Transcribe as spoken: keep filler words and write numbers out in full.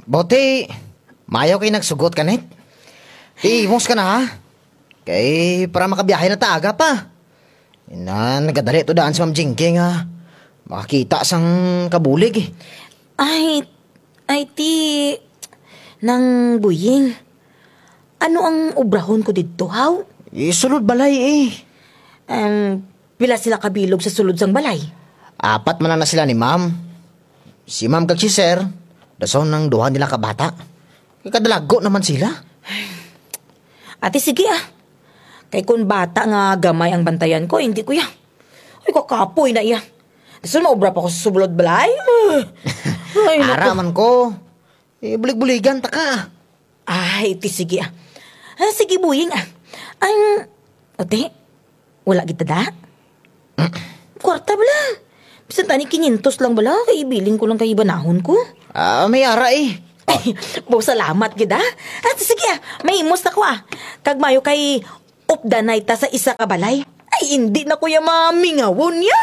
Buti, mayo kay nagsugot ka, Net. Ti, imos ka na, ha? Kay para makabiyahe na ta aga pa. Ina, nagadali to daan si Ma'am Jinky nga makakita sang kabulig, eh. Ay, ay, ti, Nang Buying. Ano ang obrahon ko didto, haw? Eh, sulod balay, eh. Em, pila sila kabilog sa sulod sang balay? Apat man lang na sila ni Ma'am. Si Ma'am kag si Sir, dason ang duha nila ka bata. Kay kadalago na man sila. Ati, sige, ah. Kay kon bata nga gamay ang bantayan ko, indi ko ya. Ay, kakapoy na iya. Dason maobra pa ko sa sulod balay. Ay, naku. Ara man ko. Eh, bulig-buligan ta ka. Ay, ti sige, ah. Ah, sige, Buying, ah. Ang, ate, wala kita da? Kwarta bala. Bisan tani kinyentos lang bala, kay ibilin ko lang kay ibanahon ko. Ah, may ara, eh. Ay, baw salamat gid, ah. Ah, ti sige, ah. Mahimos na ko, ah. Kag mayo kay updanay ta sa isa ka balay. Ay, indi na ko ya mamingawon ya.